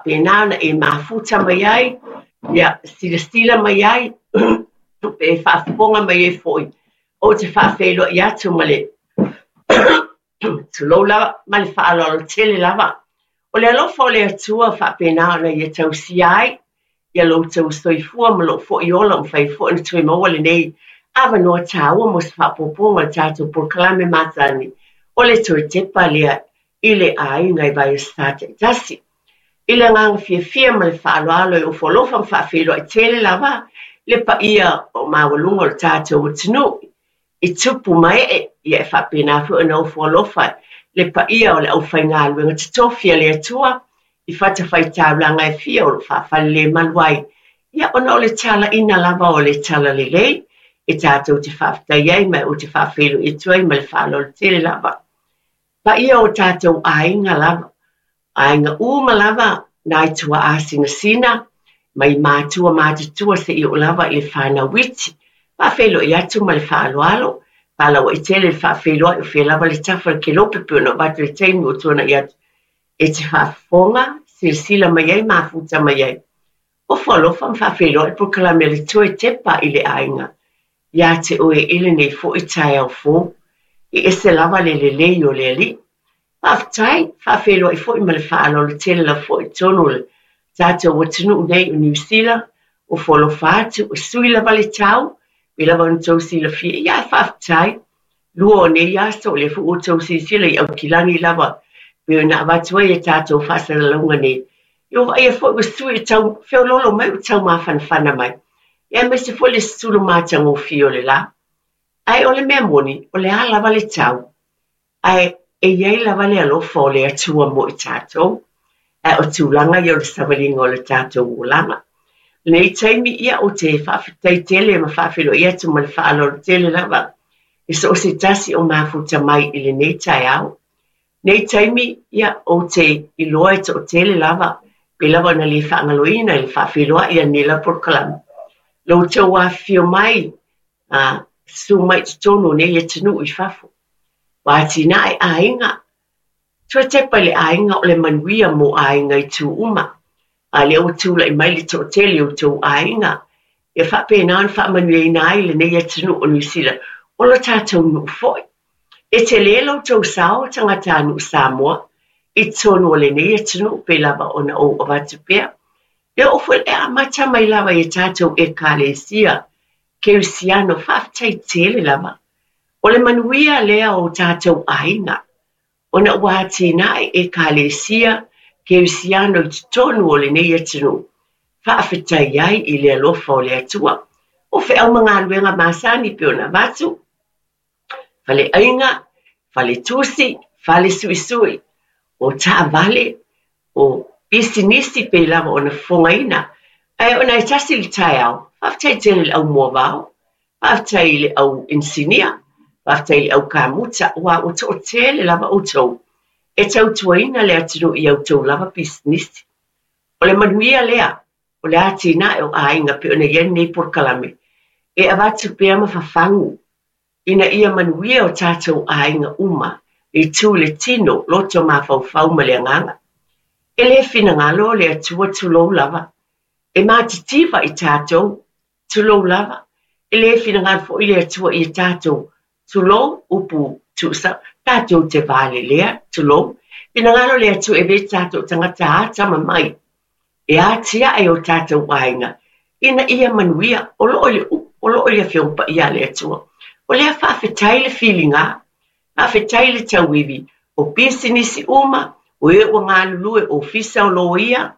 Pēnā ona e mafuta mai ai, ia, silasila mai ai, pe faafofoga mai ai foi, ou te faafeiloai atu ma le tulou lava, ma le faaaloalo tele lava. O le alofa o le Atua faapena ona ia tausia ai ia lo outou soifua ma lou foi ola ua mafai foi ona toe maua lenei avanoa taua mo se faaopoopoga o le tatou polokalame masani o le toe tepa lea i le aiga i vaiaso taitasi. I le agaga fiafia ma le faaaloalo e ofo alofa ma faafeiloai tele lava le paia o maualuga o le tatou atunuu i tupu ma ee, ia e faapena foi ona ofo alofa le paia o le aufaigaluega totofi a le Atua i fatafaitaulaga e fia o lo o faafalelemalu ai, ia ona o le talaiina lava o le talalelei e tatou te faafetai ai ma ou te faafeiloai atu ai ma le faaaloalo tele lava. Paia o tatou aiga lava, aiga uma lava nai tuaa sinasina, mai matua matutua seia oo lava i le fanau iti. Faafeiloai atu ma le faaaloalo, palauai tele le faafeiloai o fea lava le tafa o le kelope pei ona avatu i le taimi ua tuanai atu e te faafofoga, silasila mai ai, mafuta mai ai. Ofo alofa ma faafeiloai le polokalame a le Toe Tepa i le Aiga ia te oe i lenei foi taeao fou. E ese lava le lelei o le Alii. Faafetai, faafeiloai foi ma le faaaloalo tele lava foi i totonu o le tatou atunuu nei o Niu Sila, ofo alofa atu, e sui lava le tau, pei lava ona outou silafia, ia ae faafetai, lua o nei aso, o lea foi ua outou silasila i Aukilani lava, pei ona avatu ai a tatou faasalalauga nei. Ia ua vaaia foi ua sui e tau feoloolo mai, ua tau mafanafana mai, ia aemaise foi le sulu matagofie o le la. Ae o le mea moni, o le a lava le tau, Ae e i ai lava le alofa o le Atua mo i tatou, ae o tulaga ia o le savaliga o le tatou olaga. I lenei taimi, ia, ou te faafetai tele ma faafeiloai atu ma le faaaloalo tele lava i so o se tasi o mafuta mai i lenei taeao. Nei taimi, ia, ou te iloa e toatele lava, pei lava ona le faagaloina i le faafeiloai a lenei lava polokalame, lo outou afifio mai, a susu mai i totonu o nei atunuu i fafo. Ua atinae aiga, toe tepa i le aiga o le manuia mo aiga i tu uma. A lea ua tulai mai le toatele o outou aiga, ia faapena ona faamanuiaina ai lenei atunuu o Niu Sila, o lo tatou nuu foi. E tele lo outou sao tagatanuu Samoa i totonu o lenei atunuu pei lava ona ou avatu pea. E oo foi e amata mai lava i a tatou Ekalesia Kerisiano, faafetai tele lava. O le manuia lea o tatou aiga, ona ua atinae Ekalesia Kerisiano i totonu o lenei atunuu, faafetai ai i le alofa o le Atua. O feau ma galuega masani pei ona avatu, faleaiga, faletusi, falesuisui, o taavale, o pisinisi pei lava ona fofogaina. Ae ona e tasi le taeao, faafetai tele i le au moavao, faafetai i le au inisinia, faafetai i le au kamuta, aua ua toatele lava outou e tautuaina le atunuu i a outou lava pisinisi. O le manuia lea, o le atinae o aiga pei ona i ai lenei polokalame, e avatu pea ma fafagu ina ia manuia o tatou aiga uma i tu i le tino, loto mafaufau ma le agaga. E le finagalo le Atua tulou lava, e matitiva i tatou, tulou lava, e le finagalo foi le Atua ia tatou, tulou, upu tuusao, tatou te valelea, tulou, finagalo le Atua e avea tatou tagata atamamai e atiae o tatou aiga ina ia manuia, o lo o i le upu, o lo o i le Afioga Paia a le Atua. O lea faafetai le filiga, faafetai le tauivi, o pisinisi uma, o e ua galulue, ofisa o loia,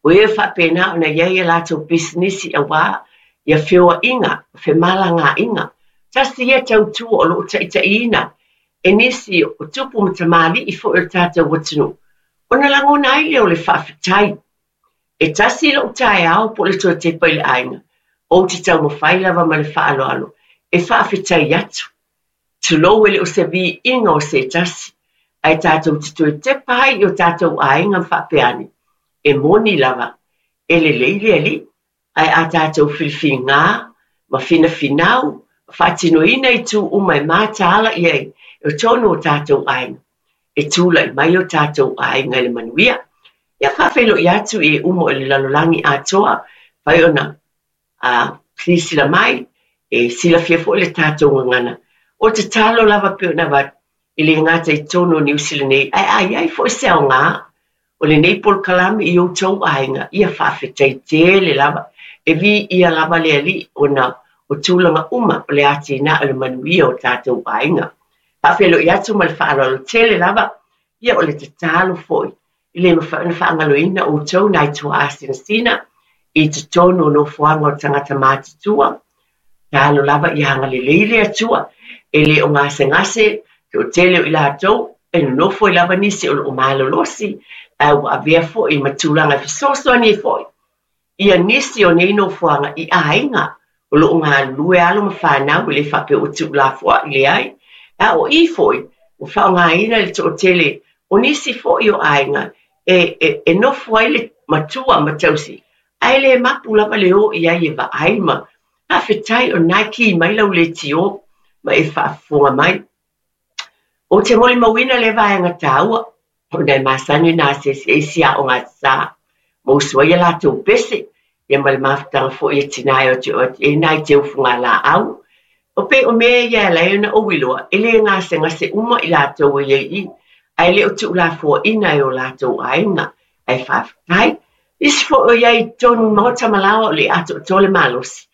o e faapena ona i ai a latou pisinisi aua ia feoaiga, femalagaaiga. Tasi ia tautua o lo o taitaiina e nisi o tupu ma tamalii foi o le tatou atunuu, ona lagona ai lea o le faafetai. E tasi lou taeao po o le toe tepa i le aiga, ou te taumafai lava ma le faaaloalo e faafetai atu. Tulou e le o se viiga o se tasi, ae tatou te toe tepa ai i o tatou aiga ma faapea ane, e moni lava, e lelei le Alii. Ae a tatou filifiliga ma finafinau ma faatinoina itu uma e mataala i ai i totonu o tatou aiga, e tulai mai o tatou aiga i le manuia. Ia faafeiloai atu i e uma o le lalolagi atoa, fai ona silasila mai, e silafia foi le tatou gagana. O le tatalo lava pei ona avatu, e le gata i totonu o Niu Sila nei, ae a i ai foi se aoga o lenei polokalame i outou aiga, ia faafetai tele lava. E viia lava le Alii ona o tulaga uma o le atinae o le manuia o tatou aiga. Faafeiloai atu ma le faaaloalo tele lava, ia o le tatalo foi e le mafai ona faagaloina outou nai tuaa sinasina i totonu o nofoaga o tagata matutua. Tatalo lava ia agalelei le Atua, e le o gasegase toatele o i latou, e nonofo ai lava nisi o lo o malolosi, ae ua avea foi ma tulaga e fesoasoani ai foi ia nisi o nei nofoaga i aiga o lo o galulue alo ma fanau, e le faapea ua tuulafoai, leai. A o i foi, ua faaaogaina le toatele o nisi foi o aiga e nofo ai le matua ma tausi, ae le mapu lava le o i ai e vaai ma faafetai o lena e ki mai lau leitio ma e faafofoga mai. Ou te molimauina lea vaega taua, ona e masani ona asiasi ai isi aoga sa ma usu ai a latou pese, ia ma le mafutaga foi a tina e o atu e i ai nai teu fugalaau. O pei o mea ia e ala ai ona ou iloa, e le gasegase uma i latou e i ai i i, ae le o tuulafoaiina e o latou aiga, ae faafetai. Nisi foi o i ai i totonu i maota ma laoa o le atoatoa le malosi,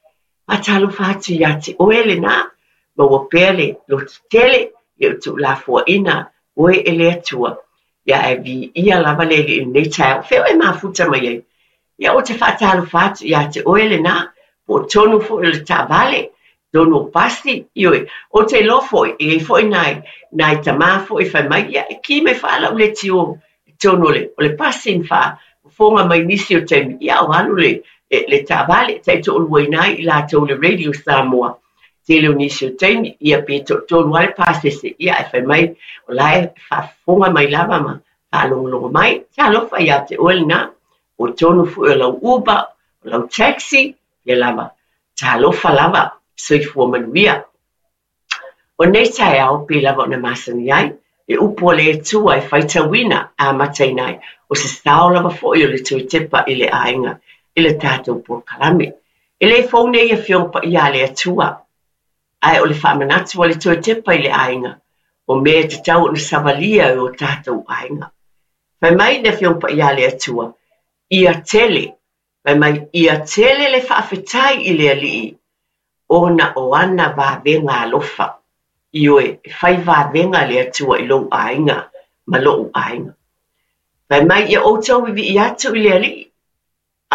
Faatalofa atu ia te oe lena, maua pea le lototele i lou tuulafoaiina oe e le Atua. Ia ae viia lava le Alii i lenei taeao. Fea o e mafuta mai ai? Ia ou te faatalofa atu ia te oe lena, po o tonu foi o le taavale, tonu o pasi, ioe. Ou te iloa foi, e i ai foi nai, nai tamā foi e fai mai, ia e ki mai faa lau leitio i totonu o le, o le pasi ma faafofoga mai nisi o taimi, ia o alu le, le, le taavale, taitoaluaina ai i latou le Radio Samoa. Tele o nisi o taimi, ia pe toatolu lava le pasese, ia ae fai mai, o la e faafofoga mai lava ma faalogologo mai. Talofa ia te oe lena, o tonu foi o lau Uber, o lau taxi, ia lava. Talofa lava, soifua manuia. O nei taeao, pei lava ona masani ai, le upu a le Atua e faitauina amataina ai, o se sao lava foi o le toe tepa i le aiga i le tatou polokalame. E le fou nei Afioga Paia a le Atua, ae o le faamanatu a le toe tepa i le aiga, o mea e tatau ona savalia e o tatou aiga. Fai mai le Afioga Paia a le Atua, Ia tele, fai mai, ia tele le faafetai i le Alii, ona o ana vavega alofa. Ioe, e fai vavega le Atua i lou aiga ma loʻu aiga. Fai mai, ia outou vivii atu i le Alii,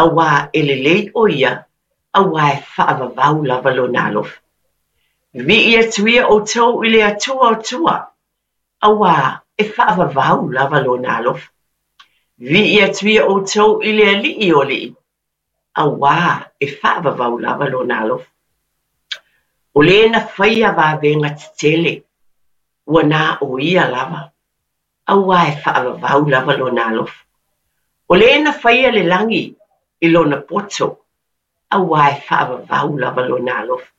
auā e lelei ʻo ia, auā e faavavau lava lona alofa. Vivii atu ia outou i le Atua o tua, auā e faavavau lava lona alofa. Vivii atu ia outou i le Alii o alii, auā e faavavau lava lona alofa. O le na faia vavega tetele, ua na o ia lava, auā e faavavau lava lona alofa. O le na faia le lagi i lona poto, auā e faavavau lava lona alofa.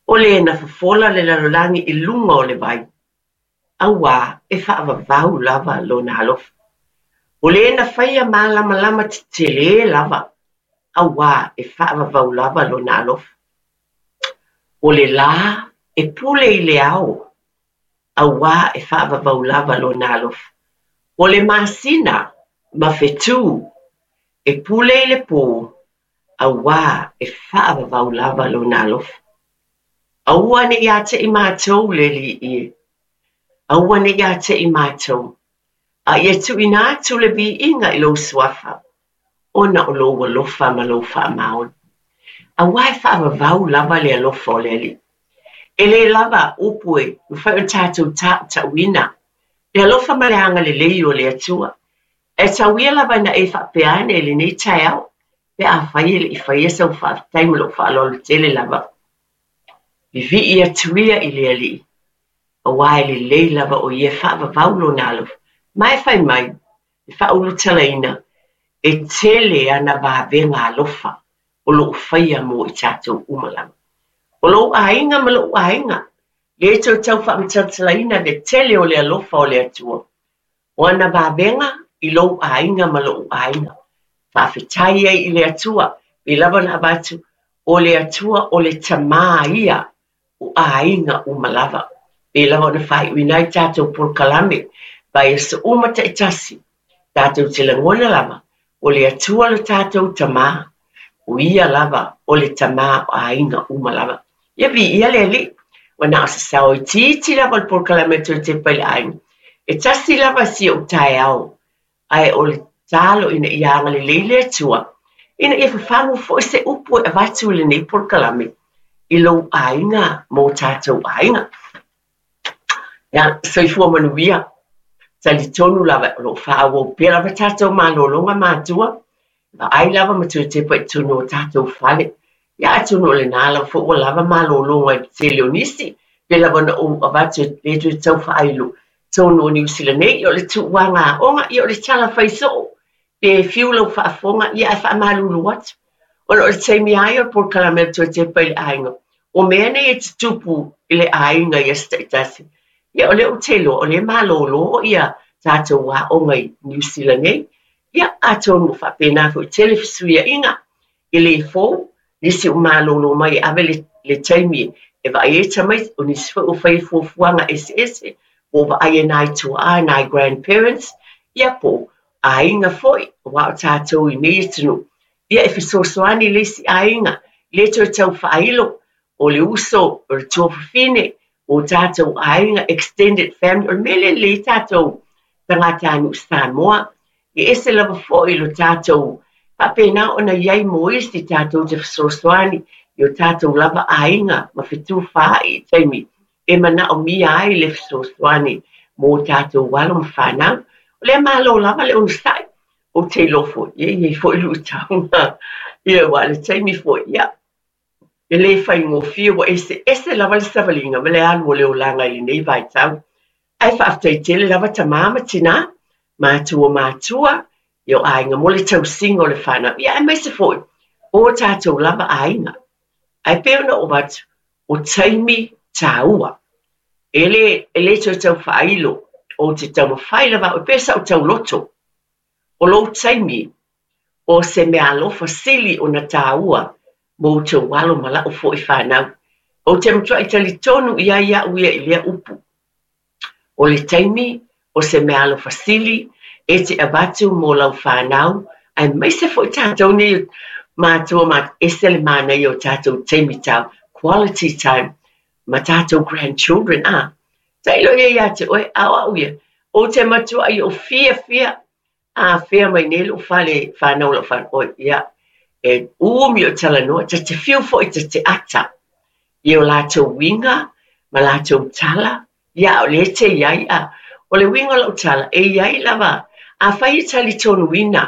O le na fofola le lalolagi i luga o le vai, auā e faavavau lava lona alofa. O le na faia malamalama tetele lava, auā e faavavau lava lona alofa. O le lā e pule i le ao, auā e faavavau lava lona alofa. O le masina ma fetū e pule i le pō, auā e faavavau lava lona alofa. Aua ne i ateʻi mātou le Alii e. Aua ne i ateʻi mātou, a ia tuuina atu le viiga i lou suafa, ona o lou alofa ma lou faamaoni. Auā e faavavau lava le alofa o le Alii. E le lava upu e mafai ona tatou taʻutaʻuina le alofa ma le agalelei o le Atua. Ae tau ia lava ina e faapea ane i lenei taeao, pe afai e le i faia sau faafetai ma lou faaaloalo tele lava. Vivii atu ia i le Alii, auā e lelei lava o ia e faavavau lona alofa, ma e fai mai, e faaulutalaina, e tele ana vavega alofa o lo o faia mo i tatou uma lava. O lou aiga ma loʻu aiga, lea e toe tau faamatalatalaina le tele o le alofa o le Atua. O ana vavega i lou aiga ma lo'u aiga. Faafetai ai i le Atua, pei lava ona avatu, o le Atua o le Tamā ia o aiga uma lava. Pei lava ona faaiuina ai tatou polokalame, vaiaso uma taitasi, tatou te lagona lava, o le Atua lo tatou Tamā, o Ia lava o le Tamā o aiga uma lava. Ia viia le Alii, ua na o se sao itiiti lava o le polokalame e toe tepa i le aiga. E tasi lava si ou taeao, ae o le tatalo ina ia agalelei le Atua, ina ia fafagu foi se upu e avatu i lenei polokalame i lou aiga ma o tatou aiga. Ia, soifua manuia. Talitonu lava o lo o faaauau pea lava tatou malologa matua, vaai lava ma toe tepa i totonu o tatou fale. Ia atonu o lena lava foi ua lava malologa i le tele o nisi, pei lava ona ou avatu e le toe tau faailo totonu o Niu Sila nei, ia o le tuuaga aoga, ia o le tala fai soo, pe fiu lau faafofoga, ia ae faamalulu atu. Ona o le taimi lava ia o le polokalame a le toe tepa i le aiga, o mea nei e tutupu i le aiga i aso taitasi, ia o lea ou te iloa o lea e malolo ia tatou aoga i Niu Sila nei, ia atonu ua faapena foi tele fesuiaiga e le fou, nisi ua malolo mai e ave le, le taimi e vaai ai tamaiti, o nisi foi ua fai fuafuaga eseese, po o vaai e nai tuaa, nai grandparents, ia po o aiga foi, aua o tatou i nei atunuu, ia e fesoasoani le isi aiga, le toe tau faailo, o le uso, o le tuafafine, o tatou aiga, extended family, o le mea lea e lelei ai tatou tagatanuu Samoa, e ese lava foi lo tatou faapena ona i ai mo isi tatou te fesoasoani i o tatou lava aiga ma fetufaai i taimi e manaomia ai le fesoasoani mo tatou alo ma fanau. O lea malo lava le onosai, ou te iloa foi, e i ai foi luitau, ia aua o le taimi foi, ia, E le faigofie ua eseese lava le savaliga ma le alu o le olaga i lenei vaitau. Ae faafetai tele lava tama ma tinā, matua o matua, i o aiga mo le tausiga o le fanau, ia aemaise foi o tatou lava aiga. Ae pei ona ou avatu, o taimi taua. E le, e le toe tau faailo, ou te taumafai lava au, e pei o sa'u tauloto. O lou taimi, o se meaalofa sili ona tāua mo outou alo ma la'u foi fanau. Ou te matua'i talitonu i ai a'u ia i lea upu. O le taimi, o se meaalofa sili e te avatu mo lau fanau, aemaise foi tatou nei matua ma ese le manaia o tatou taimi tau, quality time, ma tatou grandchildren, a. Tailo ia ia te oe, a o a'u ia, ou te matua'i ou fiafia a fea mai nei lou fale fanau lau fanau, oi, ia, e umi o talanoa, ta te fiu foi ta te ata i o latou uiga ma latou tala, ia, a o lea e te i ai, a o le uiga o lau tala, e i ai lava, afai e talitonuina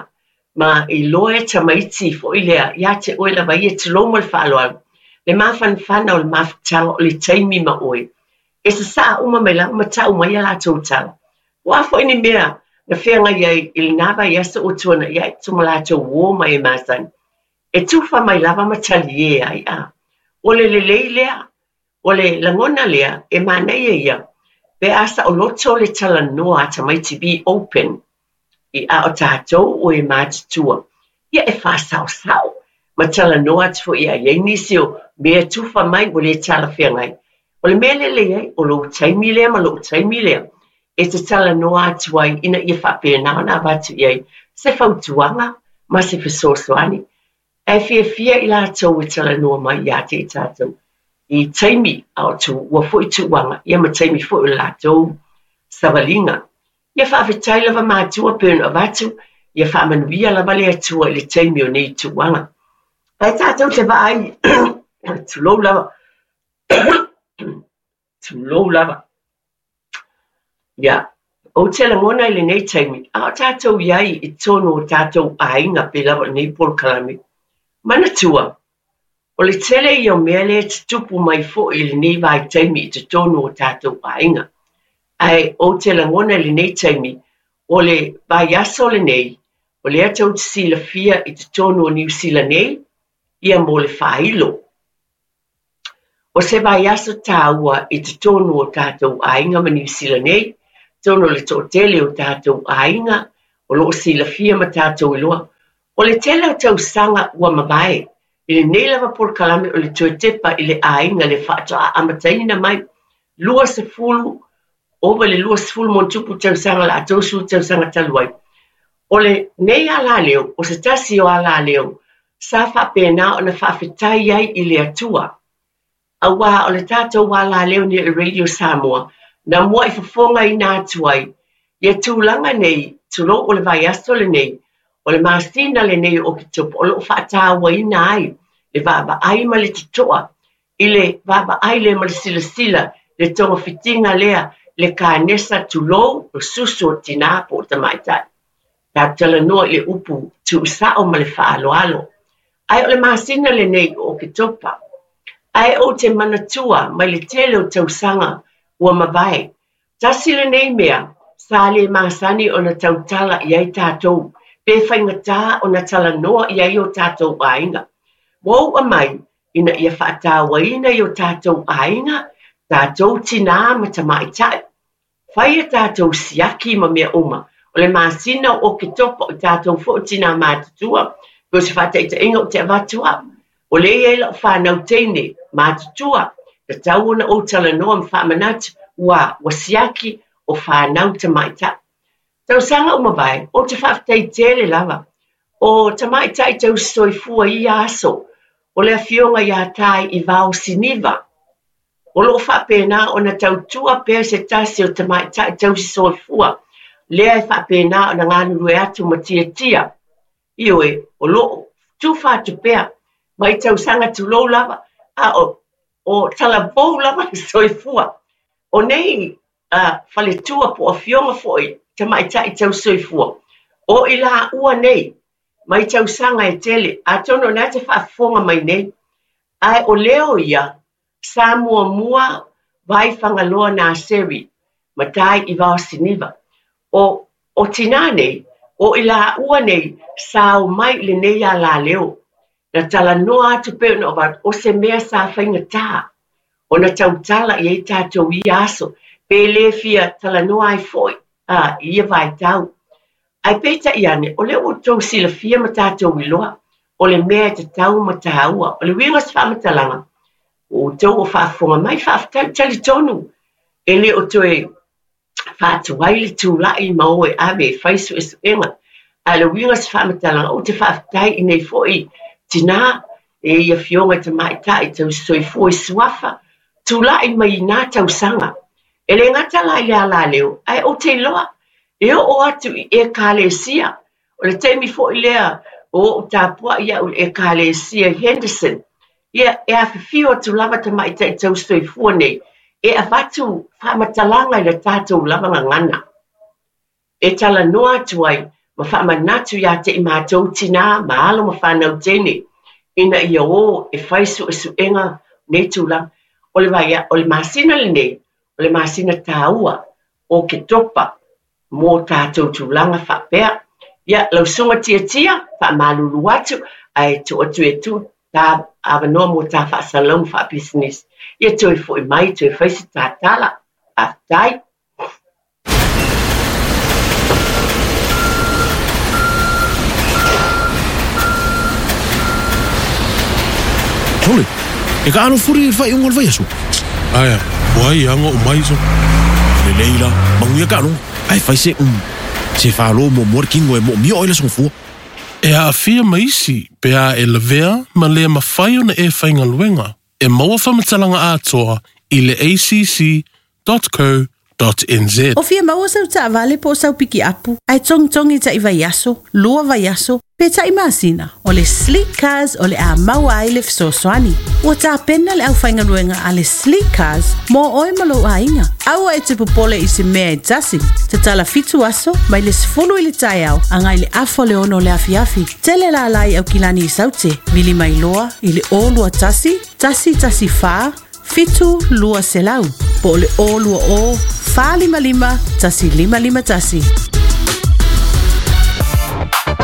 ma iloa e tamaiti foi lea ia te oe lava ia, tulou ma le faaaloalo, le mafanafana o le mafutaga o le taimi ma oe, e sasaa uma mai lava ma tau mai a latou tala. Ua a foi ni mea na feagai ai i lena vaiaso ua tuanai ae ma latou uō mai e masani, e tufa mai lava ma talie ai, a o le lelei lea, o le lagona lea e manaia ia pe a saoloto le talanoa a tamaiti be open i a o tatou o e matutua, ia e faasaosao ma talanoa atu foi a i ai nisi o mea tufa mai ua le talafeagai. O le mea lelei ai, o lou taimi lea ma lou taimi lea e te talanoa atu ai ina ia faapena ona avatu i ai se fautuaga ma se fesoasoani. Ae fiafia i latou e talanoa mai ia te i tatou i taimi a o tuua foi tuuaga ia ma taimi foi o le latou savaliga. Ia faafetai lava matua pei ona avatu, ia faamanuia lava le Atua i le taimi o nei tuuaga. Ae tatou te vaai, tulou lava, tulou lava. Ia, ou te lagona i lenei taimi, a o tatou i ai i totonu o tatou aiga pei lava o lenei polokalame, manatua, O le tele ia o mea lea e tutupu mai foi i lenei vaitaimi i totonu o tatou aiga. Ae ou te lagona i lenei taimi, o le vaiaso lenei, o lea tou te silafia i totonu o Niu Sila nei, ia mo le faailo. O se vaiaso tāua i totonu o tatou aiga ma Niu Sila nei, tonu o le toatele o tatou aiga, O lo o silafia ma tatou iloa, o le tele o tausaga ua mavae i lenei lava polokalame o le toe tepa i le aiga le faatoa amataina mai 20 ova i le 20 ma ona tupu tausaga la 30 tausaga talu ai. O lenei alaleo, o se tasi o alaleo sa faapena ona faafetai ai i le Atua. Auā o le tatou alaleo nei o le Radio Samoa, na mua'i fofogaina atu ai ia tulaga nei, tulou o le vaiaso lenei, o le masina lenei o Oketopa o lo o faatauaina ai le vaavaai ma le toto'a i le vaavaai lea ma le silasila le togafitiga lea le kanesa tulou o susu o tinā po o tamaitai. Tatou talanoa i le upu tuusao ma le faaaloalo. Ae o le masina lenei o Oketopa. Ae ou te manatua mai le tele o tausaga ua mavae, tasi lenei mea sa le masani ona tautala i ai tatou, pe faigata ona talanoa i ai o tatou aiga. Ua u'a mai ina ia faatauaina i o tatou aiga, tatou tinā ma tamaitai. Fai a tatou siaki ma mea uma. O le masina o Oketopa o tatou foi o tinā matutua, pei o se faataitaiga ou te avatu au. O lea e i ai lau fanau teine matutua, tatau ona ou talanoa ma faamanatu, ua, ua siaki o fanau tamaitai. Tausaga ua mavae, ou te faafetai tele lava. O tamaitai tausisoifua i ia aso, o le afioga ia Tai Ivao Siniva, O lo o faapena ona tautua pea se tasi o tamaitai tausisoifua lea e faapena ona galulue atu ma tiatia. Ioe, o lo o tufa atu pea mai tausaga tulou lava, a o, o talavou lava le soifua. O nei uh, faletua po o afioga foi tamaitai tausisoifua, o i laua nei mai tausaga e tele, atonu o lena e te faafofoga mai nei, ae o leo ia Sa muamua Vai Fagaloa Naseri ma Tai i Vaosiniva. O, o tinā nei, o i laua nei sa o mai i lenei alaleo. Na talanoa atu pei ona avatu, o se mea sa faigata ona tautala i ai tatou i ia aso, pe le fia talanoa ai foi a, i ia vaitau. Ae peitai ane, o lea ua outou silafia ma tatou iloa, o le mea e tatau ma tāua. O le uiga o se faamatalaga, ua outou o faafofoga mai, faafetai, talitonu, e le o toe faatuai le tulai ma o e ave e fai suesuega. Ae o le uiga o se faamatalaga, ou te faafetai i nei foi tinā, e i afioga i tamaitai tausisoifua i suafa, tulai mai i nā tausaga. E le gata la i le alaleo, ae ou te iloa, e oo atu i Ekalesia. O le taimi foi lea o ou tapuai au i le Ekalesia i Henderson, ia, e afifio atu lava tamaitai tausisoifua nei e avatu faamatalaga i le tatou lava gagana. E talanoa atu ai ma faamanatu ia te i matou tinā ma alo ma fanau teine ina ia o e fai suesuega nei tulaga. O le vai, o le masina lenei, o le masina tāua o Oketopa mō tātou tulaga faapea. Ia, lau susuga Tiatia, faamalulu atu, ae tuu atu e tuu tā avanoa mō tā faasalalau ma faapisinisi. Ia toe foi mai, toe fai se tā tala. Faafetai. Sole, e kaʻalo fuli i le faaiuga o le vaiaso. Aea, ua ai aga o mai so. Lelei la, manuia kaʻalogo. Ae fai se se falo muamua le kino e moomia oe le aso gafua. E aafia ma isi pe a e lavea ma le mafai ona e faigaluega. E maua faamatalaga atoa i le acc.co.nz. O fia maua sau taavale po o sau pikiapu, ae togitogi taʻi vaiaso, lua vaiaso, pe taʻi masina, o le Sleek Cars o le a maua ai le fesoasoani. Ua tapena le aufaigaluega a le Sleek Cars mo oe ma lou aiga. Aua e te popole i se mea e tasi. Tatala fitu aso, mai le 10 i le taeao agai le afa o le 6 o le afiafi. Tele lala i Aukilani i Saute, vili mai loa i le 021 114 7200 po o le 020 455 1551.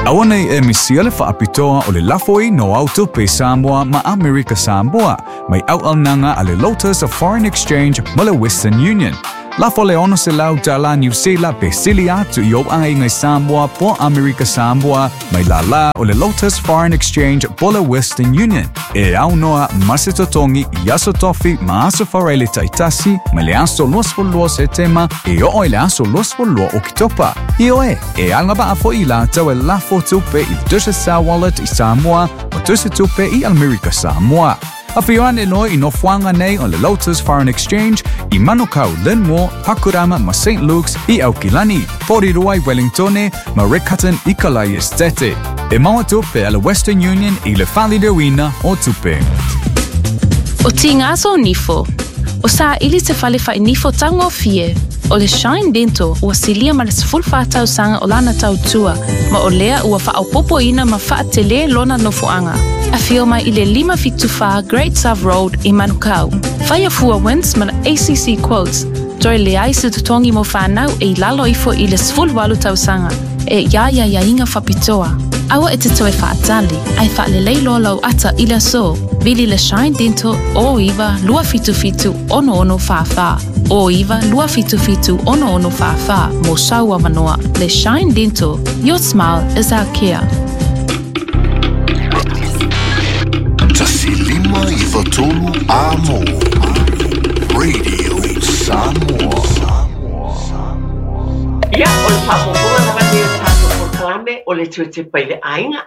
Aua nei e misia le faapitoa o le lafo i no au tupe Samoa ma Amerika Samoa mai auaunaga a le Lotus of Foreign Exchange ma le Western Union. Lafo le 600 tala Niu Sila pe sili atu i ou aiga i Samoa po Amerika Samoa mai lālā o le Lotus Foreign Exchange po le Western Union. E aunoa ma se totogi i aso tofi ma aso faraile taitasi mai le aso 22 Setema e oo i le aso 22 Oketopa. Ioe, e agavaa foi i latou e lafo tupe i le Digicel Wallet i Samoa ma tusi tupe i Amerika Samoa. Afio ane loa i nofoaga nei o le Lotus Foreign Exchange i Manukau, Linmore, Pakurama ma St Luke's i Aukilani, Porirua i Wellingtone ma Riccarton i Kalai Estate. E maua tupe a le Western Union i le faaliliuina o tupe. O Tigaso Nifo. O saili se fale fai-nifo taugofie. O le Shine Dental ua silia ma le 14 tausaga o lana tautua, ma o lea ua faaopoopoina ma faatelē lona nofoaga. Afio mai i le 574 Great South Road i Manukau. Faia fua wins ma le ACC Quotes, toe leai se totogi mo fanau e i lalo ifo i le 18 tausaga, e ia ia iaiga faapitoa. Aua e te toe faatali, ae faalelei loa lou ata i le aso. Vili le Shine Dental 09 277 6644. 09 277 6644 mo sau avanoa. Le Shine Dental, your smile is our care. 1 5 9 3 Amo Radio Samoa. Ia, o le faaopoopoga lava lenei o le tatou polokalame o le toe tepa i le aiga.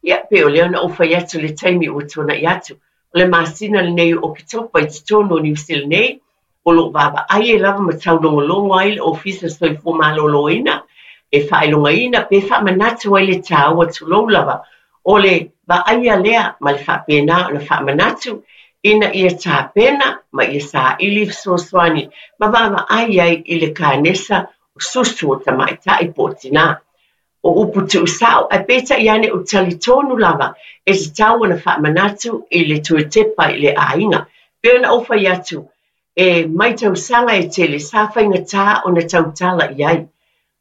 Ia, pei o lea na ou fai atu i le taimi ua tuanai atu, o le masina lenei o Oketopa i totonu o Niu Sila nei, o lo o vaavaai ai lava ma taulogologo ai le Ofisa Soifua Maloloina e faailogaina pe faamanatu ai le taua tulou lava o le vaaia lea ma le faapena ona faamanatu ina ia tapena ma ia saili fesoasoani ma vaavaai ai i le kanesa o susu o tamaitai po o tinā. O upu tuusao, ae peitai ane o talitonu lava e tatau ona faamanatu i le toe tepa i le aiga. Pei ona ou fai atu, e mai tausaga e tele sa faigata ona tautala i ai.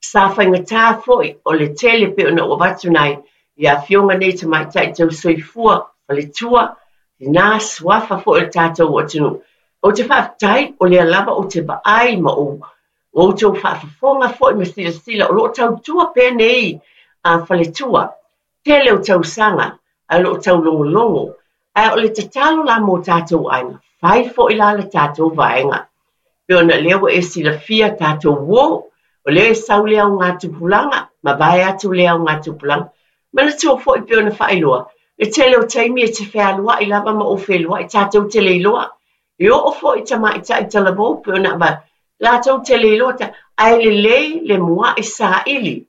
Sa faigata foi o le tele pei ona ou avatu nai i afioga nei tamaitai tausoifua, faletua, tinā, suafa foi o le tatou atunuu. Ou te faafetai o lea lava ou te vaai ma ou outou faafofoga foi ma silasila o lo o tautua pea nei a faletua. Tele o tausaga ae o lo o taulogologo. Ae o le tatalo la mo tatou aiga, fai foi la le tatou vaega. Pei ona lea ua e silafia tatou uo, o lea e sau le augatupulaga, ma vae atu le augatupulaga. Manatua foi pei ona faailoa, le tele o taimi e te fealuai lava ma ou feluai tatou te le iloa. E oo foi tamaitai talavou pei ona avatu, latou te le iloa ta, ae lelei le muai saili.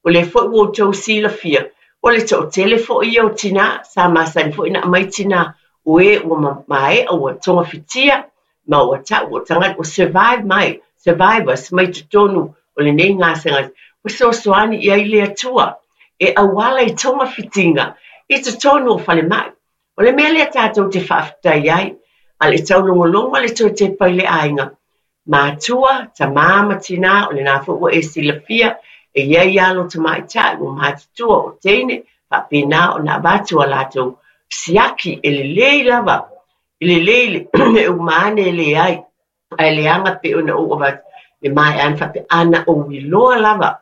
O lea foi ua outou silafia, o le toatele foi ia o tinā, sa masani foi ona aumai tinā, o e ua maea ua togafitia, ma ua tau ua tagata ua survive mai, survivors mai totonu o lenei gasegase, ua fesoasoani i ai le Atua e auala i togafitiga i totonu o falemai. O le mea lea tatou te faafetai ai, a le taulogologo a le toe tepa i le aiga, matua, tamā ma tinā, o lena foi ua e silafia, e i ai alo tamaitai ua matutua o teine, faapena ona avatu a latou siaki e lelei lava, e lelei le uma ane e leai, ae leaga pei ona ou avatu, le maea ane faapea, ana ou iloa lava,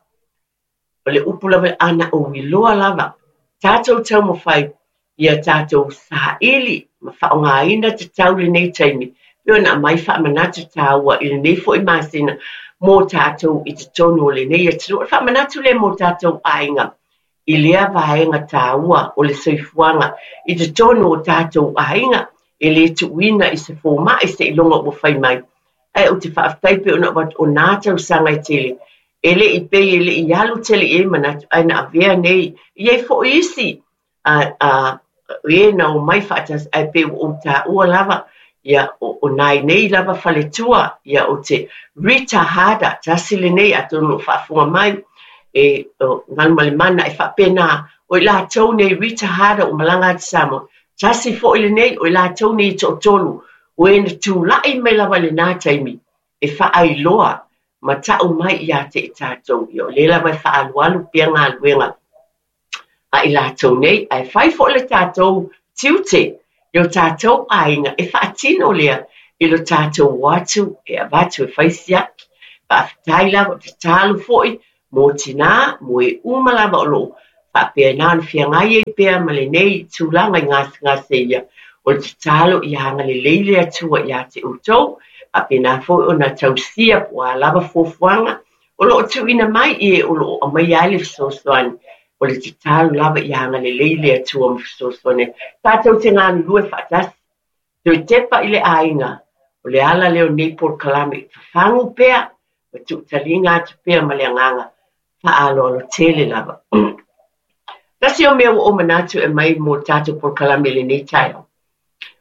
o le upu lava, ana ou iloa lava, tatou taumafai ia tatou saili ma faaaogaina tatau lenei taimi, pei ona aumai faamanatu taua i lenei foi masina mo tatou i totonu o lenei atunuu. O le faamanatu lea mo tatou aiga i lea vaega taua o le soifuaga i totonu o tatou aiga, e le tuuina i se fomai seiloga ua fai mai. Ae ou te faafetai pei ona avatu o nā tausaga e tele, e le i pei e le i alu tele i ai manatu, ae na avea nei, e i ai foi isi a e na omai faatasi, ae pei ua ou taua lava, ia o nai nei lava faletua, ia o te Rita Harder, tasi lenei atonu o faafofoga mai, e o Galumalemana e faapena, o i latou nei Rita Harder ua malaga atu Samoa, tasi foi lenei o i latou nei e toatolu, o e na tulai mai lava i lena taimi, e faailoa ma tau mai ia te i tatou, ia o lea lava e faaalualu pea galuega a i latou nei, ae fai foi le tatou tiute i o tatou aiga e faatino lea i lo tatou o atu e avatu e fai siaki. Faafetai lava, o tatalo foi mo tinā, mo e uma lava o lo o faapena ona feagai ai pea ma lenei tulaga i gasegase ia. O le tatalo ia agalelei le Atua ia te outou, faapena foi ona tausia po o a lava fuafuaga o lo o tuuina mai i e o lo o aumaia ai le fesoasoani. O le tatalo lava ia agalelei le Atua ma fesoasoani ai. Tatou te galulue faatasi. Toe tepa i le aiga, o le ala lea o lenei polokalame, fafagu pea ma tuutaliga atu pea ma le agaga faaaloalo tele lava. Tasi o mea ua ou manatu e aumai mo le tatou polokalame i lenei taeao,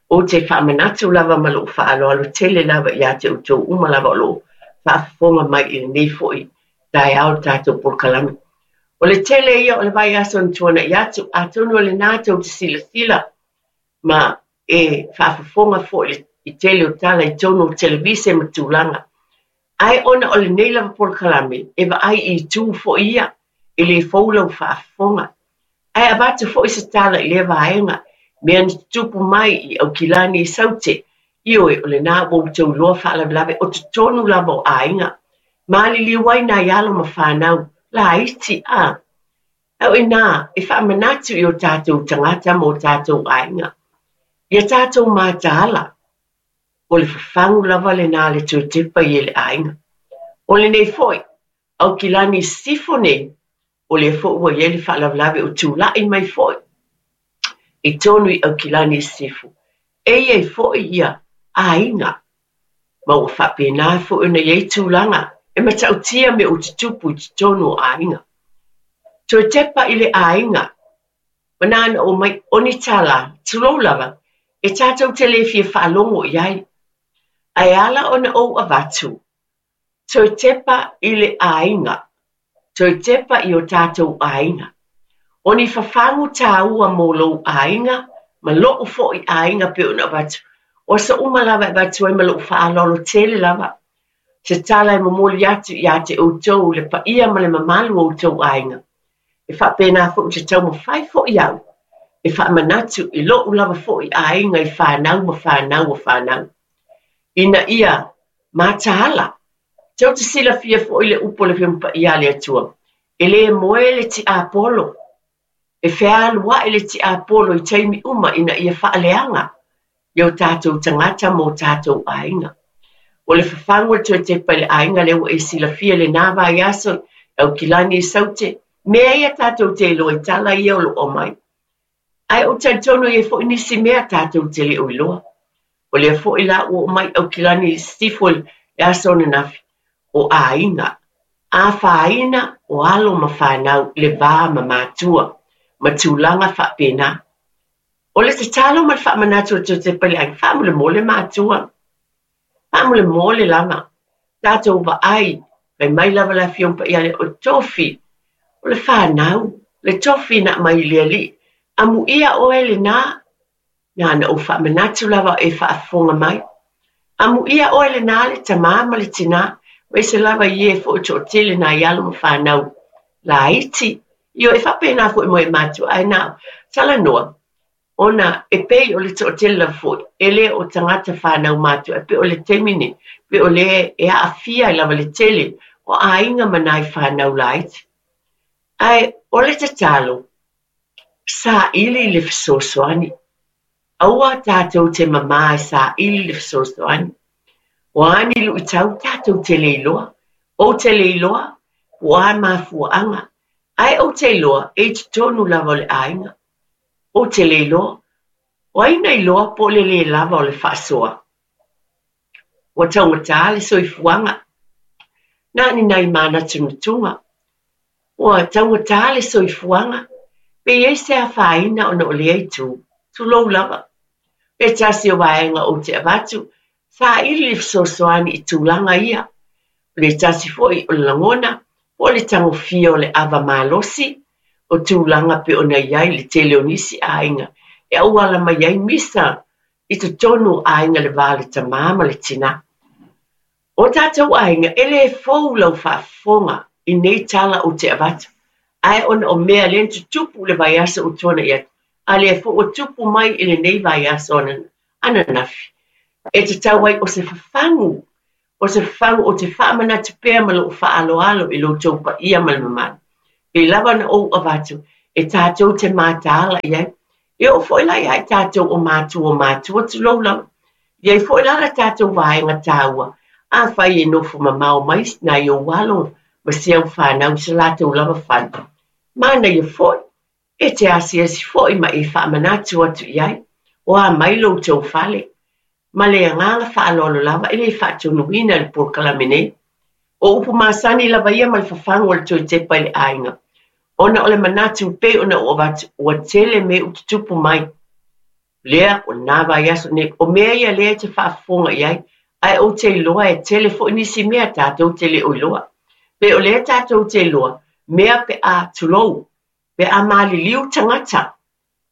ou te faamanatu lava ma lou faaaloalo tele lava ia te outou uma lava o lo o faafofoga mai i lenei foi taeao le tatou polokalame. O le tele ia o le vaiaso na tuanai atu, atonu o lena tou te silasila ma e faafofoga foi i tele o tala i totonu o televise ma tulaga. Ae ona o lenei lava polokalame, e vaai i itu foi ia, e le fou lau faafofoga. Ae avatu foi se tala i lea vaega, mea na tutupu mai i Aukilani i Saute, ioe, o lena ua outou iloa faalavelave o totonu lava o aiga. Maliliu ai nai alo ma fanau laiti, a. A o i inā e faamanatu i o tatou tagata ma o tatou aiga, ia tatou mataala, o le fafagu lava lena a le toe tepa i le aiga. O lenei foi, Aukilani i Sisifo nei, o lea foi ua i ai le faalavelave o tulai mai foi i totonu i Aukilani i Sisifo, e i ai foi ia aiga, ma ua faapena foi ona i ai tulaga e matautia mea o tutupu i totonu o aiga. Toe tepa i le aiga, ma na ona omai o ni tala, tulou lava, e tatou te le fia faalogo i ai. Ae ala ona ou avatu, Toe tepa i le aiga. Toe tepa i o tatou aiga. O ni fafagu tāua mō lou aiga ma lo'u foi aiga pei ona avatu. O aso uma lava e avatu ai ma lo'u faaaloalo tele lava. Se tala e momoli atu ia te outou le paia ma le mamalu o outou aiga. E faapena foi ou te taumafai foi au e faamanatu i lo'u lava foi aiga i fanau ma fanau a fanau. Ina ia mataala. Tou te silafia foi le upu a le Afioga Paia a le Atua, e le moe le tiapolo, e fealuai le tiapolo i taimi uma ina ia faaleaga i o tatou tagata ma o tatou aiga. O le fafagu o le toe tepa i le aiga lea ua e silafia i lena vaiaso i Aukilani i Saute, mea ia tatou te iloa i tala ia o lo o aumai. Ae ou te talitonu e i ai foi nisi mea tatou te le o iloa. O lea foi la ua oo mai Aukilani i Sisifo i le aso ananafi, o aiga, afaina o alo ma fanau i le va ma matua, ma tulaga faapena. O le tatalo ma le faamanatu a Josepa i le aiga, faamolemole matua, Faamolemole lava, tatou vaai, fai mai lava le Afioga Paia o tofi, o le fanau, le tofi na aumai i le Alii. Amuia oe lena, na ona ou faamanatu lava e faafofoga mai. Amuia oe lena le tamā ma le tinā, aemaise lava i e foi o toatele nai alo ma fanau laiti. Ioe, e faapena foi mo e matua, ae na talanoa, Ona e pei o le toatele lava foi, e le o tagata fanau matua, e pei o le taimi nei, pei o lea e aafia ai lava le tele o aiga ma nai fanau laiti. Ae o le tatalo, saili le fesoasoani. Aua tatou te mamā e saili le fesoasoani. O a ni luitau tatou te le iloa, ou te le iloa po o a mafuaaga, ae ou te iloa e i totonu lava o le aiga. Ou te le iloa. O ai na iloa po o le lē lava o le faasoa? Ua taugata le soifuaga. Na o ni nai manatunatuga. Ua taugata le soifuaga. Pe i ai se afaina ona o lea itu? Tulou lava. Se tasi o vaega ou te avatu, saili le fesoasoani i tulaga ia. O le tasi foi o le lagona, po o le tagofia o le ava malosi, o tulaga pei ona i ai le tele o nisi aiga e auala mai ai misa i totonu o aiga le va o le tamā ma le tinā. O tatou aiga, e le fou lau faafofoga i nei tala ou te avatu, ae ona o mea lea na tutupu i le vaiaso ua tuanai atu, a lea foi ua tupu mai i lenei vaiaso ananafi, e tatau ai o se fafagu. O se fafagu ou te faamanatu pea ma lou faaaloalo i lo outou paia ma le mamalu. Pei lava ona ou avatu e tatou te mataala i ai. E oo foi la ia i tatou o matua o matua tulou lava. E i ai foi la la tatou vaega taua, afai e nofo mamao mai nai ou alo ma si au fanau i so latou lava fale. Manaia foi, e te asiasi foi ma e faamanatu atu i ai, o a mai lo outou fale. Ma le agaga faaaloalo lava e le faatonuina i le polokalame nei. O upu masani lava ia ma le fafagu o le toe tepa i le aiga, ona o le manatu pei ona ou avatu ua tele mea ua tutupu mai. Lea, o lena vaiaso nei, o mea ia lea e te faafofoga i ai, ae ou te iloa e tele foi nisi mea tatou te le o iloa. Pei o lea tatou te iloa, mea pe a, tulou, pe a maliliu tagata,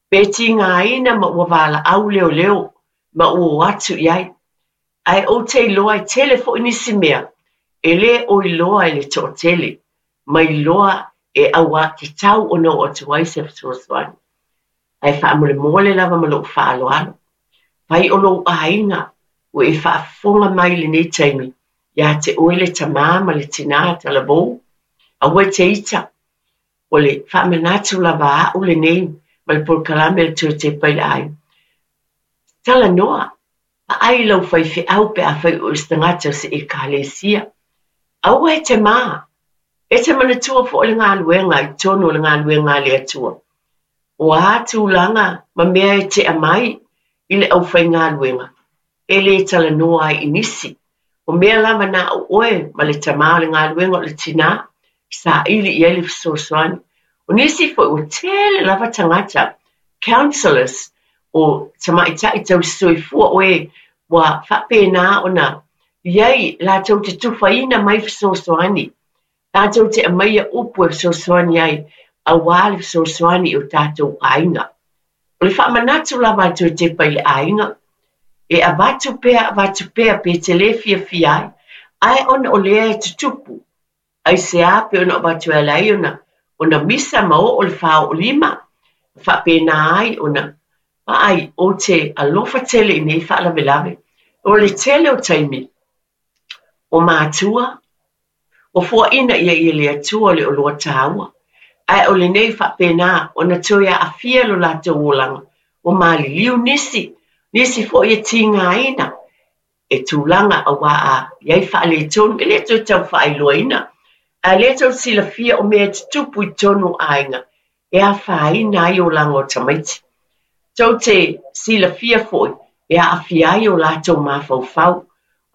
pe tigaina ma ua valaau leoleo ma ua o atu i ai. Ae ou te iloa e tele foi nisi mea e le o iloa e le toatele, ma iloa e auatatau ona oo atu ai se fesoasoani. Ae faamolemole lava ma lou faaaloalo, fai o lou aiga ua e faafofoga mai i lenei taimi ia te oe le tamā ma le tinā talavou, aua e te ita, O le faamanatu lava a au lenei ma le polokalame a le Toe Tepa i le Aiga. Talanoa, vaai i lau faifeau pe afai o oe se tagata o se Ekalesia. Aua e te mā! E te manatua foi le galuega i totonu o le galuega a le Atua. O a tulaga ma mea e tea mai i le aufaigaluega, e le talanoa ai i nisi. O mea lava na o oe ma le tamā o le galuega o le tinā, saili i ai le fesoasoani. O nisi foi ua tele lava tagata, counsellors, o tamaitai tausisoifua o e ua faapena ona i ai latou te tufaina mai fesoasoani Tatou te aumaia upu e fesoasoani ai aua le fesoasoani i o tatou aiga. O le faamanatu lava a le Toe Tepa i le aiga, e avatu pea avatu pea pe te le fiafia ai, ae ona o lea e tutupu, aisea pei ona avatu e ala ai ona ona misa ma oo le fāoolima, ma faapena ai ona vaai ou te alofa tele i nei faalavelave. O le tele o taimi, o matua, Ua foaina ia i le Atua le oloa taua, ae o lenei faapena ona toe aafia lo latou olaga, ua maliliu nisi, nisi foi e tigaina e tulaga auā a i ai faaletonu, e le toe tau faailoaina, ae lea tou te silafia o mea e tutupu i totonu o aiga e afaina ai olaga o tamaiti. Tou te silafia foi e aafia ai o latou mafaufau,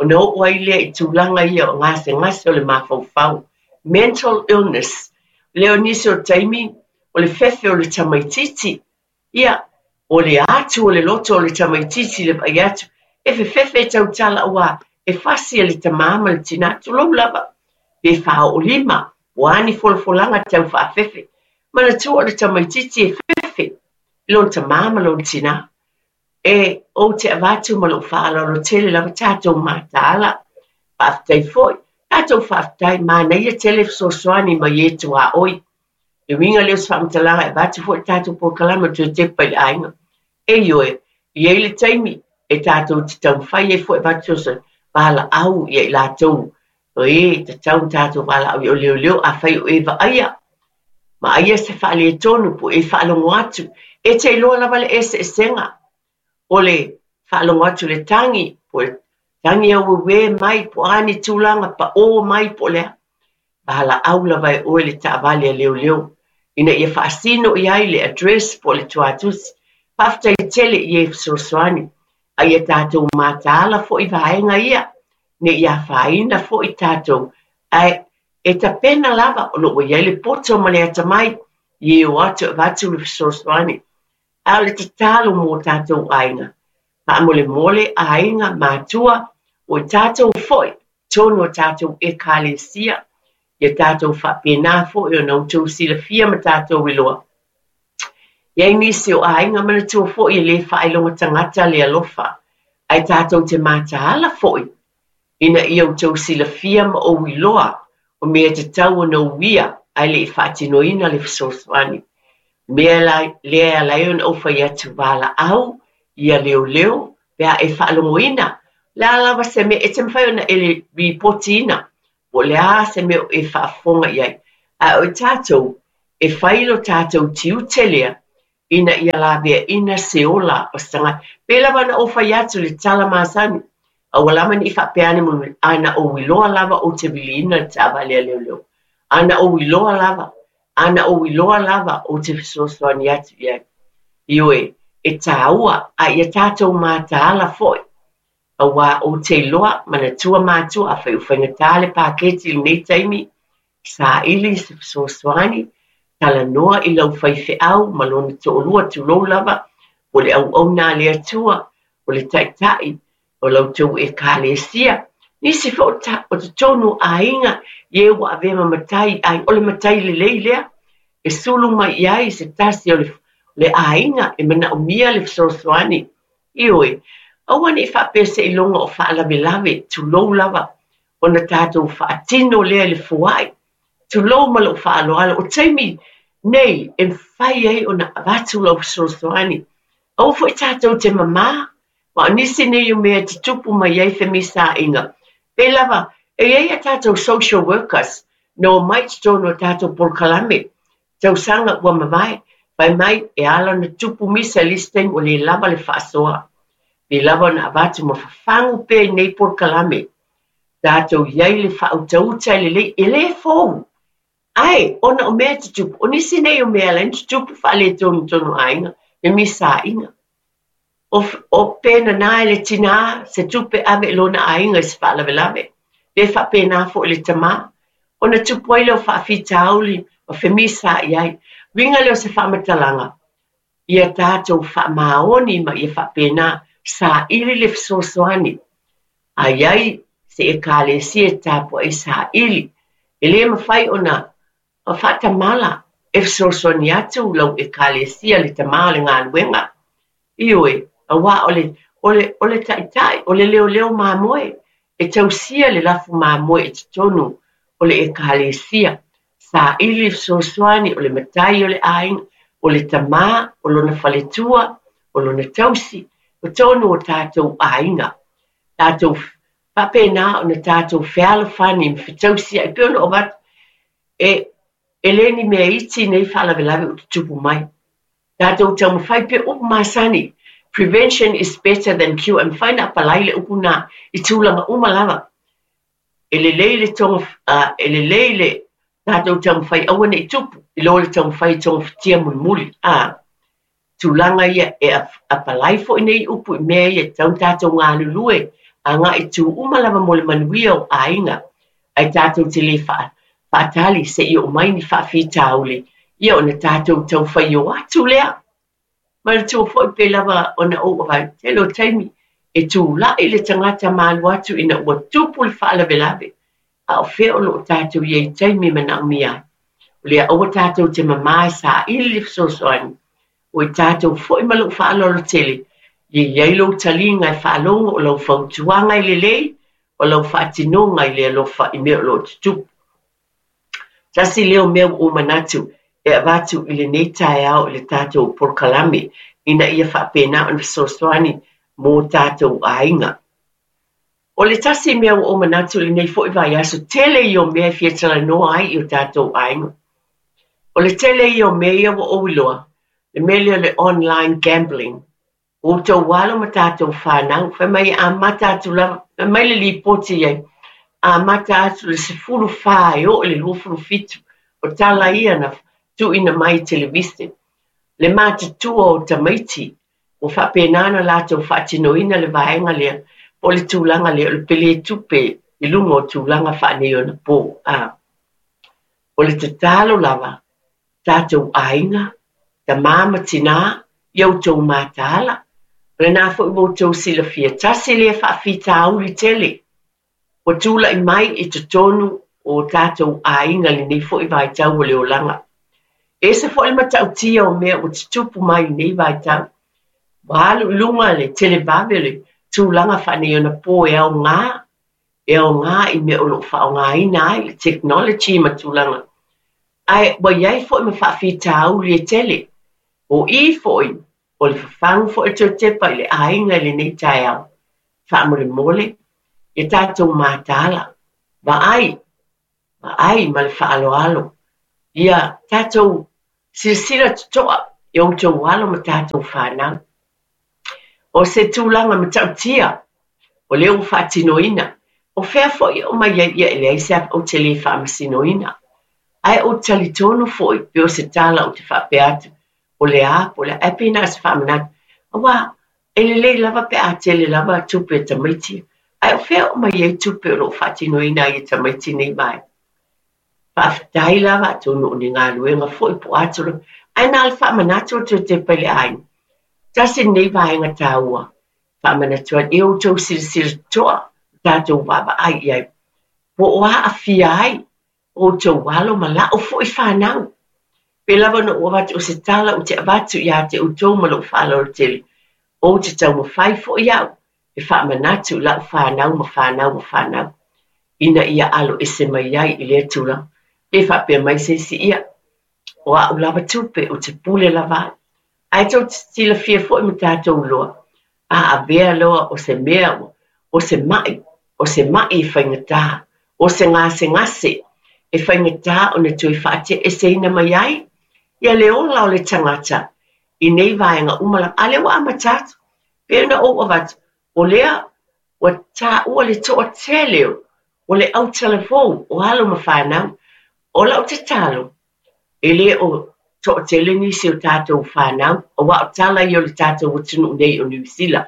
ona oo ai lea i tulaga ia o gasegase o le mafaufau, mental illness. Lea o nisi o taimi, o le fefe o le tamaitiiti, ia, o le atu o le loto o le tamaitiiti i le vaai atu, e fefefe e tautala aua e fasi e le tamā ma le tinā, tulou lava, pe fāoolima, ua a ni folafolaga tau faafefe. Manatua o le tamaitiiti e fefe i lona tamā ma lona tinā. E, ou te avatu ma lou faaaloalo tele lava tatou mataala. Faafetai foi, tatou faafetai, manaia tele fesoasoani mai e tuaoi. Le uiga lea o se faamatalaga e avatu foi le tatou polokalame o Toe Tepa i le Aiga. E ioe, e i ai le taimi e tatou te taumafai ai foi e avatu fesoasoani, valaau ia i latou o e tatau ona tatou valaau i o leoleo afai o e vaaia vaaia se faaletonu po o e faalogo atu. E te iloa lava le eseesega o le faalogo atu i le tagi po o le tagi aueuē mai po o a ni tulaga paō mai po o le a. Valaau lava e oe le taavale a leoleo ina ia faasino i ai le address po o le tuatusi. Faafetai tele i e fesoasoani a ia tatou mataala foi vaega ia ne i afaina foi tatou, ae e tapena lava o lo o ua i ai le poto ma le atamai i e o atu e avatu le fesoasoani. A o le tatalo mō tatou aiga, faamolemole aiga, matua, o i tatou foi, tonu o tatou Ekalesia, ia tatou faapena foi ona outou silafia ma tatou iloa. I ai nisi o aiga manatua foi e le faailoga tagata le alofa, ae tatou te mataala foi ina ia outou silafia ma ou iloa o mea tatau ona uia ae le i faatinoina le fesoasoani. Mea lea e ala ai ona ou fai atu valaau ia leoleo pe a e faalogoina Le a lava se mea, e te mafai ona e ripotiina po o le a se mea o e faafofoga i ai. Ae o i tatou, e fai lo tatou tiute lea ina ia laveaina se ola o se tagata. Pei lava ona ou fai atu i le tala masani, aua lava ne i faapea ane mulimuli, a na ou iloa lava ou te viliina le taavale a leoleo. A na ou iloa lava, a na ou iloa lava ou te fesoasoani atu i ai. Ioe, e tāua, a ia tatou mataala foi, auā ou te iloa, manatua matua, afai ua faigata le paketi i lenei taimi, saili se fesoasoani, talanoa i lau faifeau ma lona toalua, tulou lava, po o le auauna a le Atua, o le taitai o la outou Ekalesia. Nisi foi o totonu o aiga i e ua avea ma matai i aiga, o le matai lelei lea e sulu mai i ai se tasi o le aiga e manaomia le fesoasoani. Ioe, aua ne i faapea seiloga o faalavelave, tulou lava, ona tatou faatino lea i le foai. Tulou ma lou faaaloalo, o taimi nei e mafai ai ona avatu lau fesoasoani. Aua foi tatou te mamā, ma o nisi nei o mea e tutupu mai ai femisaaiga. Pei lava, e i ai a tatou social workers na omai i totonu o tatou polokalame, tausaga ua mavae, fai mai e ala ona tupu misa i le isi taimi ua le lava le faasoa. Pei lava ona avatu ma fafagu pea i nei polokalame. Tatou i ai le faautauta e lelei, e le fou. Ae, ona o mea e tutupu, o nisi nei o mea e ala ai ona tutupu faaletonu aiga, femisaaiga. O pe nana e le tinā se tupe ave i lona aiga i se faalavelave, pe faapena foi i le tamā, ona tupu ai lea o faafitauli ma femisaai ai. Uiga lea o se faamatalaga, ia tatou faamaoni ma ia faapena saili le fesoasoani. A i ai se Ekalesia e tapuai saili, e le mafai ona faatamala e fesoasoani atu lau Ekalesia, le tamā o le galuega. Ioe, auā o le, o le, o le taitai, o le leoleo mamoe, e tausia le lafu mamoe i totonu o le Ekalesia. Saili le fesoasoani, o le matai o le aiga, o le tamā, o lona faletua, o lona tausi, o totonu o tatou aiga. Tatou faapena ona tatou fealofani ma fetausiai, e pei ona ou avatu, e, e le ni mea iti nei faalavelave ua tutupu mai. Tatou taumafai pea upu masani, prevention is better than cure, e mafai ona apalai le upu lena i tulaga uma lava. E lelei le toga, e lelei le tatou taumafai aua ne i tupu, i lo le taumafai e togafitia mulimuli. A, tulaga ia e apalai foi nei upu i mea ia e tatau ona tatou galulue agai i itu uma lava mo le manuia o aiga, ae tatou te le faatali se i oo mai ni faafitauli, ia ona tatou tau faio atu lea. Manatua foi pei lava ona ou avatu, tele o taimi e tulai le tagata ma alu atu ina ua tupu le faalavelave, a o fea o lo o tatou i ai i taimi e manaomia ai. O lea aua tatou te mamā e saili le fesoasoani, o i tatou foi ma lou faaaloalo tele, ia i ai lou taliga e faalogo o lau fautuaga i lelei, o lau faatinoga i le alofa i mea o lo o tutupu. Tasi lea o mea ua ou manatu e avatu i lenei taeao i le tatou polokalame ina ia faapena ona fesoasoani mo tatou aiga. O le tasi mea ua ou manatu i lenei foi vaiaso, tele ia o mea e fia talanoa ai i o tatou aiga. O le tele ia o mea ia ua ou iloa, le mea lea o le online gambling. Ua outou alo ma tatou fanau, fai mai e amata atu lava, fai mai le lipoti i ai, amata atu i le 14 e oo i le 27, o tala ia na tuuina mai i televise. Le matutua o tamaiti Ua faapena ona latou faatinoina le vaega lea po o le tulaga lea o le pele tupe i luga o tulaga faaneionapo. A o le tatalo lava, tatou aiga, tamā ma tinā, ia outou mataala, o lena foi ua outou silafia, tasi lea faafitauli tele Ua tulai mai i totonu o tatou aiga lenei foi vaitau o le olaga. E ese foi le matautia o mea ua tutupu mai i lenei vaitau. Ua alu i luga le televave o le tulaga faaneionapo e aoga, e aoga i mea o lo o faaaogaina ai le technology ma tulaga. Ae ua i ai foi ma faafitauli e tele. O i foi, o le fafagu foi o le toe tepa i le aiga i lenei taeao. Faamolemole, ia tatou mataala, vaai, vaai ma le faaaloalo, ia tatou silasila totoa i outou alo ma tatou fanau. O se tulaga matautia o lea ua faatinoina, o fea foi e aumai ai ia e leai se ava ou te le faamasinoina. Ae ou te talitonu foi pe o se tala ou te faapea atu o le a po o le a, ae pei na o se faamanatu. Aua e lelei lava pe a tele lava tupe a tamaiti, ae o fea e aumai ai tupe o lo o faatinoina ai e tamaiti nei vaega? Faafetai lava atonu o ni galuega foi po o a tulaga, ae na o le faamanatu atu e tepa i le aiga. Tasi lenei vaega taua, faamanatu atu, ia outou silasila totoa, tatou vaavaai i ai, po o aafia ai outou alo ma la'u foi fanau. Pei lava ona ou avatu o se tala ou te avatu ia te outou ma lou faaaloalo tele, ou te taumafai foi au e faamanatu i la'u fanau ma fanau ma fanau, ina ia alo ese mai ai i lea tulaga. Pe faapea mai se isi, ia, o a'u lava tupe, ou te pule lava au. Ae tou te silafia foi ma tatou iloa, a avea loa o se mea o se ma'i, o se ma'i e faigata, o se gasegase e faigata ona toe faate'eseina mai ai ia le ola o le tagata i nei vaega uma lava. A lea ua amata atu, pei ona ou avatu, o lea ua taua le toatele o le autalavou o alo ma fanau. O lau tatalo, e le o toatele nisi o tatou fanau, aua o tala ia o le tatou atunuu nei o Niu Sila.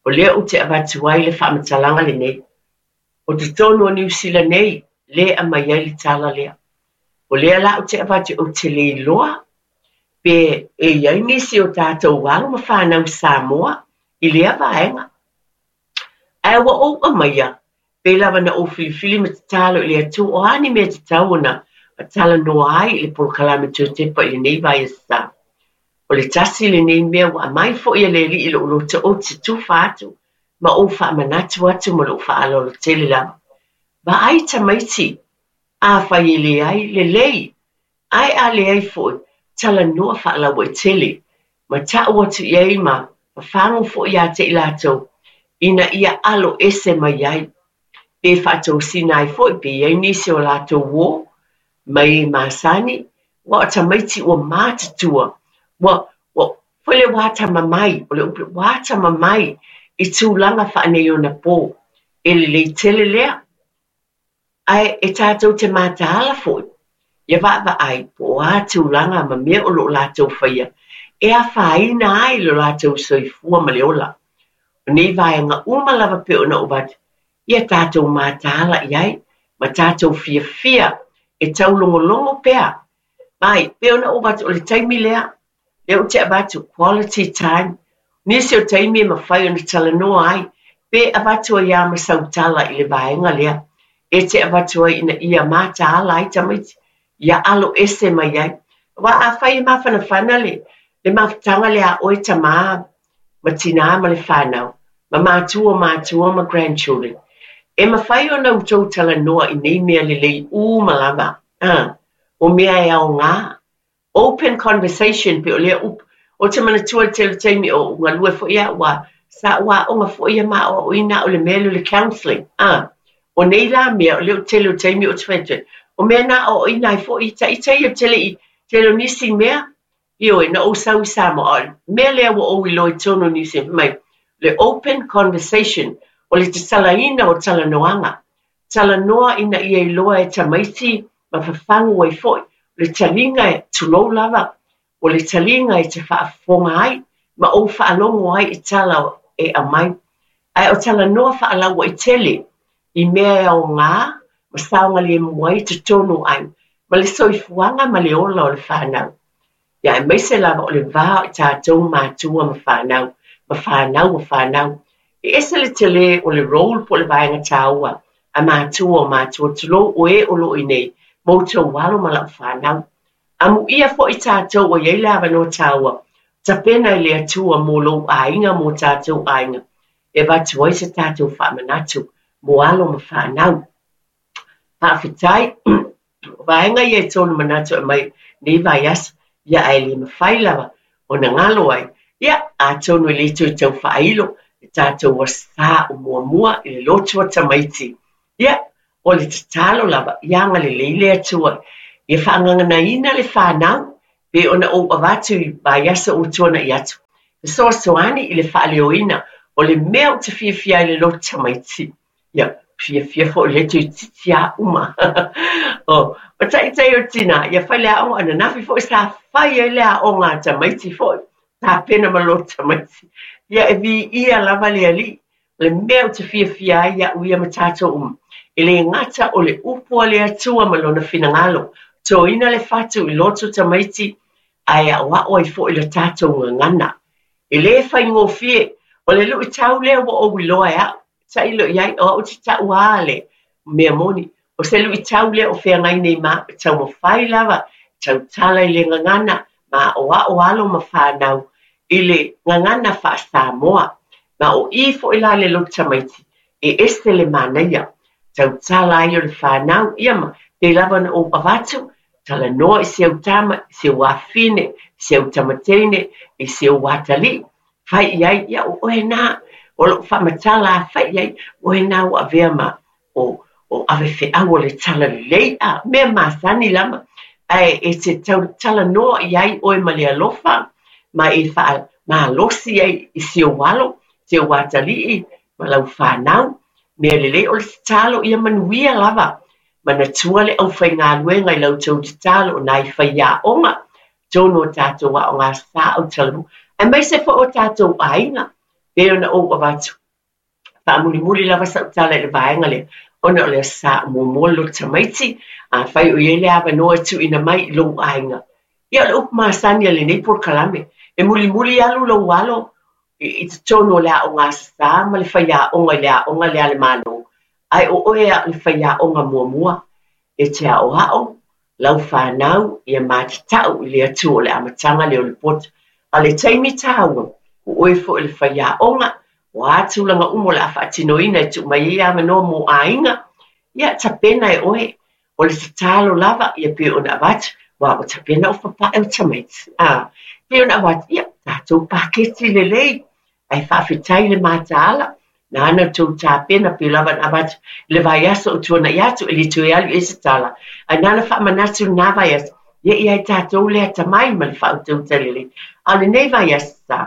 O lea ou te avatu ai le faamatalaga lenei. O totonu o Niu Sila nei, lea e aumai ai le tala lea. O lea la ou te avatu ou te le iloa pe e i ai nisi o tatou alo ma fanau Samoa i lea vaega. Ae ua ou aumaia, pei lava na ou filifili ma tatalo i le Atua o a ni mea tatau ona talanoa ai i le polokalame toe tepa i lenei vaiaso sa. O le tasi lenei mea ua aumai foi e le Alii i lou loto ou te tufa atu ma ou faamanatu atu ma lou faaaloalo tele lava. Vaai tamaiti, afai e leai, lelei, Ae a leai foi, talanoa faalauaitele ma ta'u atu i ai ma fafagu foi ia te i latou ina ia alo ese mai ai, pe faatosina ai foi pe i ai nisi o latou uō mai e masani, ua o tamaiti ua matutua, ua, ua, foi le ua atamamai, o le upu, ua atamamai i tulaga faaneionapo. E lelei tele lea. Ae e tatou te mataala foi ia vaavaai po o a tulaga ma mea o lo o latou faia e afaina ai lo latou soifua ma le ola. O nei vaega uma lava pei ona ou avatu, ia tatou mataala i ai ma tatou fiafia e taulogologo pea. Mai, pei ona ou avatu o le taimi lea, lea ou te avatu quality time, nisi o taimi e mafai ona talanoa ai, pe avatu ai lava ma sau tala i le vaega lea e te avatu ai ina ia mataala ai tamaiti, ia alo ese mai ai. Aua afai e mafanafana le, le mafutaga lea a oe tamā ma tinā ma le whanau, ma matua o matua ma grandchildren, e mafai ona outou talanoa i nei mea lelei uma lava, a, o mea e aoga, Open conversation pei o lea upu. Ou te manatua i le tele o taimi o ou galue foi au a sa ou aoga foi ia ma aoaoina au i le mea lea o le counselling. A, o nei la mea o lea o le tele o taimi ou te fai atu ai, o mea na aoaoina ai foi ita ita ia tele i tele o nisi mea, ioe, na ou sau i Samoa, a o le mea lea ua ou iloa i totonu o Niu Sila, fai mai, le open conversation, o le tatalaina o talanoaga. Talanoa ina ia iloa e tamaiti ma fafagu ai foi, o le taliga e, tulou lava, o le taliga e te faafofoga ai ma ou faalogo ai i tala e aumai. Ae o talanoa faalauaitele i mea e aoga ma saogalemu ai totonu o aiga, ma le soifuaga ma le ola o le fanau. Ia aemaise lava o le va o i tatou matua ma fanau, ma fanau o fanau. E ese le tele o le role po o le vaega taua a matua o matua, tulou o e o lo o i nei ma outou alo ma lau fanau. Amuia foi tatou ua i ai le avanoa taua, tapena e le Atua mo lou aiga mo tatou aiga, e avatu ai se tatou faamanatu mo alo ma fanau. Faafetai. O vaega ia e tolu manatu e aumai nei vaiaso, ia ae le mafai lava ona galo ai. Ia, atonu e le toe tau faailo, Le tatou Aso Sa o muamua i le lotu a tamaiti. Ia, o le tatalo lava, ia agalelei le Atua ia faagaganaina le fanau, pei ona ou avatu i vaiaso ua tuanai atu, fesoasoani i le faaleoina o le mea ou te fiafia ai i le lotu tamaiti. Ia, fiafia foi le toeitiiti lava uma. O, o taitai o tinā, ia fai le aoga, ananafi foi sa fai ai le aoga a tamaiti foi, tapena ma lotu tamaiti. Ia, e viia lava le Alii, O le mea ou te fiafia ai iaʻu ia ma tatou uma, e le gata o le upu a le Atua ma Lona finagalo, toina le fatu i loto tamaiti ae aʻoaʻo ai foi la tatou gagana. E le faigofie, o le luʻitau lea ua ou iloa e aʻu, tailo i ai, o aʻu te taʻu a le mea moni, o se luʻitau lea o feagai nei ma aʻu, e taumafai lava e tautala i le gagana ma aʻoaʻo alo ma fanau i le gagana faa-Samoa. Ma o i foi la le lotu tamaiti, e ese le manaia, tautala ai o le fanau, ia ma pei lava ona ou avatu, talanoa i si au tama, i si ou afafine, i si au tama teine, i si ou atalii, fai i ai, ia o oe na, o lou faamatala a fai i ai, oe na ua avea ma o, o ave feau o le talalelei, a mea masani lava, ae e te talanoa i ai oe ma le alofa, ma e faamalosi ai i si ou alo, si ou atalii, ma lau fanau. Mea lelei o le tatalo ia manuia lava. Manatua le aufaigaluega i la outou tatalo o nai faiaoga, totonu o tatou aoga sa au talamu, aemaise foi o tatou aiga, pei ona ou avatu. Faamulimuli lava sau tala i le vaega lea, ona o le Aso Sa muamua le lotu tamaiti, afai o i ai le avanoa e tuuina mai i lou aiga. Ia, o le upu masani a lenei polokalame, e mulimuli alu lou alo i totonu o le aoga Aso Sa ma le faiaoga i le aoga lea a le Malo, ae o oe lava o le faiaoga muamua e te aoao lau fanau ia matatau i le Atua o le amataga lea o le poto. A o le taimi tāua, o oe foi o le faiaoga, o a tulaga uma o le a faatinoina e tuu mai ai avanoa mo aiga, ia tapena e oe. O le tatalo lava, ia pei ona avatu, aua ua tapena ou papae o tamaiti. A, pei ona avatu, ia, tatou paketi lelei, Ae faafetai i le mataala, nāna tou tapena pei lava ona avatu i le vaiaso o tuanai atu, e le toe alu i ai se tala, ae nāna faamanatu lena vaiaso, ia i ai tatou le atamai ma le faautautaia lelei. A o lenei vaiaso sa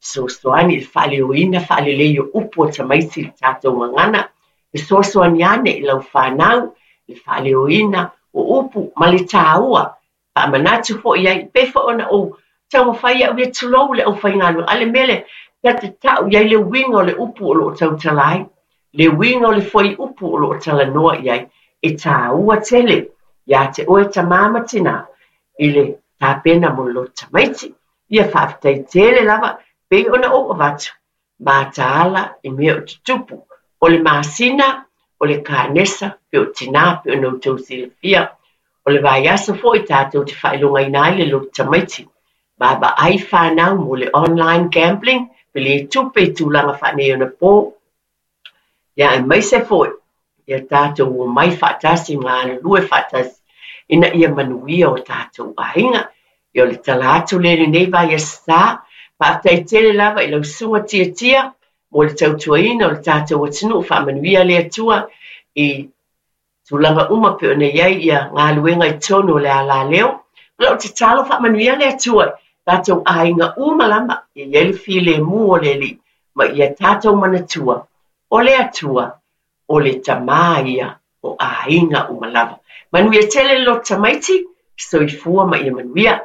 fesoasoani i le faaleoina faalelei o upu a tamaiti i le tatou gagana, fesoasoani ane i lau fanau i le faaleoina o upu ma le taua Faamanatu foi i ai, pei foi ona ou taumafai au ia tulou le aufaigaluega, a o le mea lea, ta te tau i ai le uiga o le upu o lo o tautala ai, le uiga o le fuaiupu o lo o talanoa i ai, e taua tele iā te oe tamā ma tinā i le tapena mo le lotu tamaiti. Ia faafetai tele lava, pei ona ou avatu, mataala i mea o tutupu, o le masina, o le kanesa, pe o tinā, pe ona outou silafia. O le vaiaso foi tatou te faailogaina ai le lotu tamaiti. Vaavaai fanau mo le online gambling, pe le tupe i tulaga faaneionapo, ia aemaise foi ia tatou omai faatasi ma galulue faatasi ina ia manuia o tatou aiga. Ia o le tala atu lea i lenei vaiaso sa. Faafetai tele lava i lau susuga Tiatia mo le tautuaina o le tatou atunuu. Faamanuia le Atua i tulaga uma pei ona i ai ia galuega i totonu o le alaleo. O lau tatalo faamanuia le Atua i tatou aiga uma lava ia i ai le filemu o le Alii ma ia tatou manatua o le Atua o le Tama ia o aiga uma lava. Manuia tele le lotu tamaiti, soifua ma ia manuia.